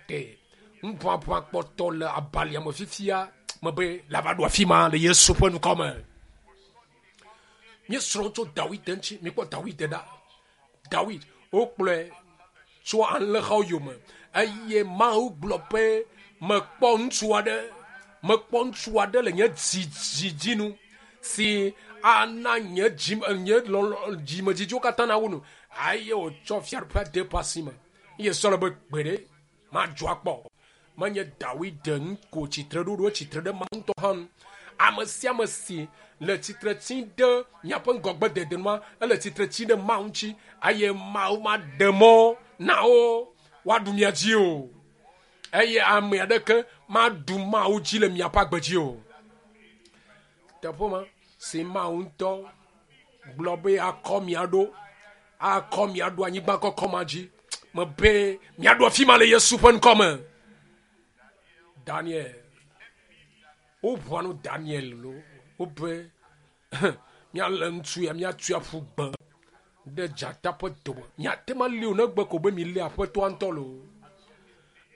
ɖe ŋuʋaʋã kpɔtɔ le abalia me fifia mebe la va ɖo afi ma le Yesu ƒe ŋkɔ me. Míesrɔ̃ tso Dawid ŋuti. Mikpɔ Dawid ɖa. Dawid, wokplɔe tso alẽhawo yome eye Mawu gblɔ be mekpɔ ŋutsu aɖe, mekpɔ ŋutsu aɖe le nye dzi dzi dzi nu si ana nye dzi nye lɔlɔ dzimedzidziwo katã nawu nu eye wòtsɔ fiaɖuƒea de eƒe asi me. Eye Saul be gbeɖe madzɔ akpɔ o. Menye Dawid ŋu ko tsitre ɖo ɖo tsitre ɖe Mawu ŋutɔ hã ŋu. Ame sia ame si le tsitre tsim ɖe miaƒe ŋgɔgbedede nua, ele tsitre tsim ɖe Mawu ŋuti eye Mawu maɖe mɔ na wo woaɖu mia dzi o. Eye ame aɖeke maɖu Mawu dzi le miaƒe agbe dzi o. Teƒe ma si Mawu ŋutɔ gblɔ be akɔ mia ɖo, akɔ mia ɖo anyigba kɔkɔ ma dzi. Mebe miaɖo afi ma le Yesu ƒe ŋkɔ me. Daniel, woʋua nu Daniel lo, wobe míalé ŋutsu ya míatui aƒu gbe ɖe dzata ƒe dome. Miate ŋu ali o negbe ko be milé aƒetɔa ŋutɔ lo.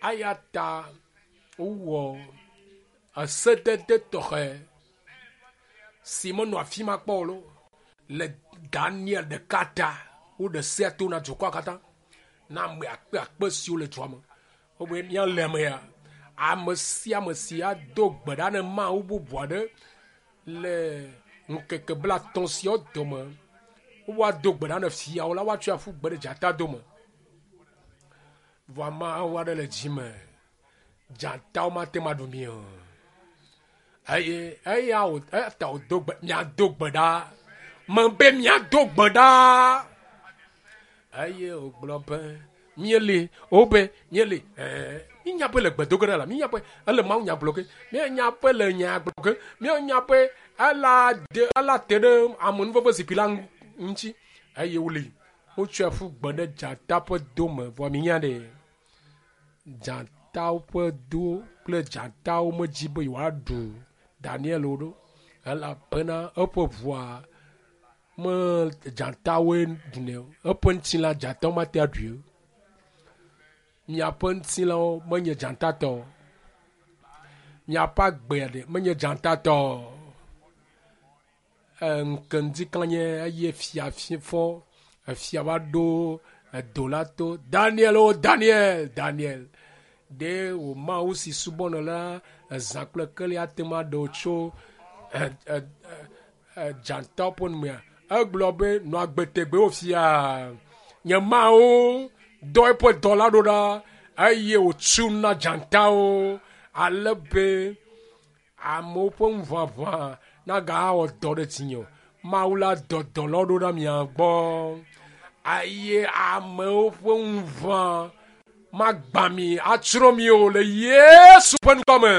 Eya ta wowɔ esedede tɔxɛ si menɔ afi ma kpɔ o lo le Daniel ɖeka ta. Woɖe sea to na dukɔa katã na ame akpe akpe siwo le dua me. Wobe míalé ame ya. Ame sia ame si ado gbe ɖa ne Mawu bubu aɖe le ŋkeke blaetɔ̃ siawo dome, woado gbe ɖa ne fiawo la, woatsɔe aƒu gbe ɖe dzata dome. Vɔ Mawu aɖe le dzi me. Dzatawo mate ŋu aɖu mi o. Eye eya wò eya ta wòdo gbe miado gbe ɖa. Mebe miado gbe ɖa. Eye wògblɔ be míeli wobe míeli ɛɛ mínya be le gbedoge ɖa la mínya be ele Mawu nya gblɔ ge míenya be le nya gblɔ ge míenya be ela de ela te ɖe amenuveve zikpui la ŋuti eye woli wotsɔe ƒu gbe ɖe dzata ƒe dome vɔ minya ɖe dzatawo ƒe do kple dzatawo medzi be yewoaɖu Daniel o ɖo elabena eƒe ʋua me dzatawoe ɖunɛ o. Eƒe ŋutilã dzatawo mate aɖui o. Miaƒe ŋutilãwo menye dzatatɔ o. Miaƒe agbea ɖe menye dzatatɔ o. Ŋke ŋdikanye eye fia fɔ efia va ɖo edo la to. Daniel o Daniel, Daniel. Ɖe wò Mawu si subɔnɔ la ezã kple keli ate ŋu aɖe wò tso dzatawo ƒe numea? Egblɔ be nɔ agbe tegbee o fia. Nye Mawu dɔ eƒe dɔla ɖo ɖa eye wòtu na dzatawo ale be amewo ƒe ŋuʋaʋã nagawɔ dɔ ɖe dzinye o. Mawu la dɔ dɔlawo ɖo ɖa mia gbɔ eye amewo ƒe ŋuʋã magbã mi atsrɔ̃ mi o le Yesu ƒe ŋkɔ me.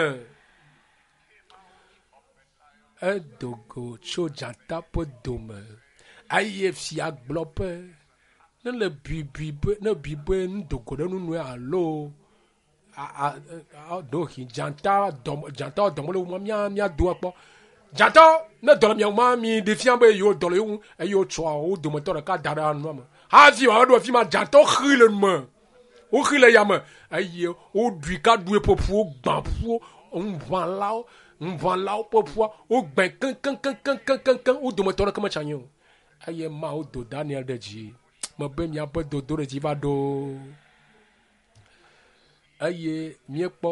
Edo go tso dzata ƒe dome eye fia gblɔ be ne le bui be ne bui be nudogo ɖe nunue alo ɖewohĩ dzata dɔme dzatawo dɔme le wo mía míado akpɔ. Dzatawo ne dɔ le mia ŋu ma mi ɖe fia be yewo dɔ le yewo ŋu eye wotsɔa wo dometɔ ɖeka da ɖe nua me. Hafi wòava ɖo afi ma dzatawo xi le nu me. Woxi le yame eye woɖui ka ɖu eƒe ƒuwo gbã ƒuwo ŋuʋãlawo ŋuʋãlawo ƒe ƒua wogbẽ keŋkeŋkeŋkeŋkeŋ wo dometɔ ɖeke metsi anyi o. Eye Mawu do Daniel ɖe dzi. Mebe miaƒe dodo ɖe dzi va ɖo. Eye míekpɔ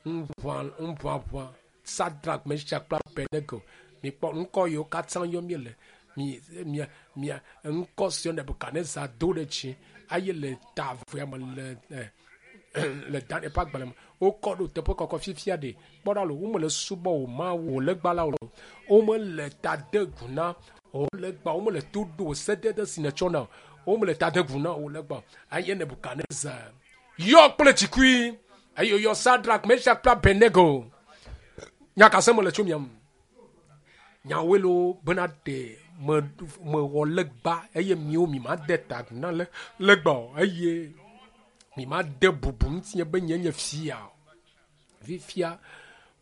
ŋuʋã ŋuʋaʋã Sadrak, Mesak kple Abednego. Mikpɔ ŋkɔ yiwo katã yɔ míele. Mi mia mia ŋkɔ siwo Nebukadnezar do ɖe dzi eye le ta evea me le le Daniel ƒe agbalẽ me. Wokɔ ɖo teƒe kɔkɔ fifia ɖe. Kpɔ ɖa lo, womele subɔ wò Mawu wò legba la o. Womele ta de gu na wò legba, womele to ɖo wò sedede si nètsɔ na o. Womele ta de gu na wò legba o. Eye Nebukadnezar yɔ kple dzikui eye wòyɔ Sadrak, Mesak kple Abednego. Nya ka sem mele tso mia ŋu? Nyawoe lo bena ɖe mewɔ legba eye miwo mi made ta agu na le legba o eye mi made bubu ŋutinye be nye nye fia o. Fifia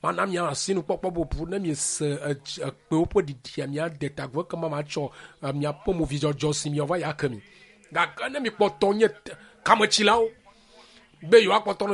mana mia asinukpɔkpɔ bubu ne miese ekpewo ƒe ɖiɖia miade ta agu ekema matsɔ miaƒe movidzɔdzɔ si miawɔ va yi ake mi. Gake ne mikpɔtɔ nye kametsilawo be yewoakpɔtɔ